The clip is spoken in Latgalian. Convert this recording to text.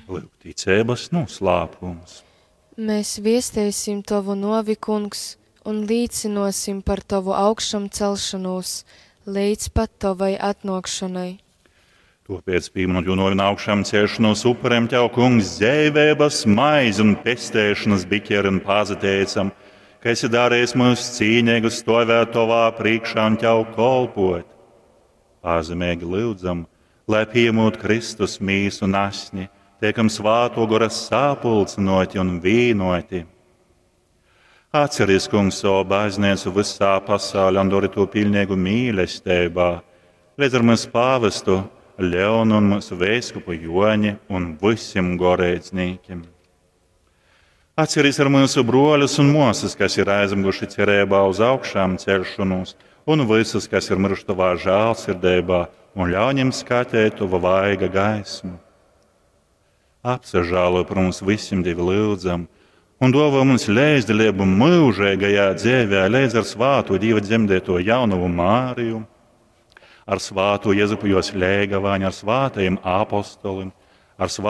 Lūk, ticeibas noslēpums. Mēs viesteisim Tovu nuovi, Kungs, un līcynuosim par Tovu augšamcelšonūs leidz pat Tovai atnuokšonai. Tāpēc, pieminot jo novi un augšām celšanos upuriem Tev, Kungs, dzeiveibas maizi un pestēšanas biķeri un pazateicam, ka esi darījis mūs cīnīgus stovēt Tavā priekšā un Tev kolpot. Pazemīgi lūdzam, lai pieņemot Kristus mīsu un asni, tiekam svāto gora sapulcinoti un vīnoti. Atceries, Kungs, savu baznīcu visā pasaulē un dori to pilnīgu mīlestībā, līdz ar mūsu pāvestu Leonu un mūsu vēskupu Joņi un visiem goreidznīkiem. Atceries ar mūsu broļus un māsas, kas ir aizmiguši cerībā uz augšām celšanos, un visus, kas ir miruši tavā žēlsirdībā, un ļauj viņiem skatīt tavu vaiga gaismu. Apsažālo par mums visiem Dievi lūdzam, un dāvā mums līdzdalību mūžīgajā dzīvē, līdz ar svāto Dieva dzemdēto jaunavu Māriju, ar svāto Jēzupu jos lēgavāņu, ar svātajiem apostoliem, ar svātajiem.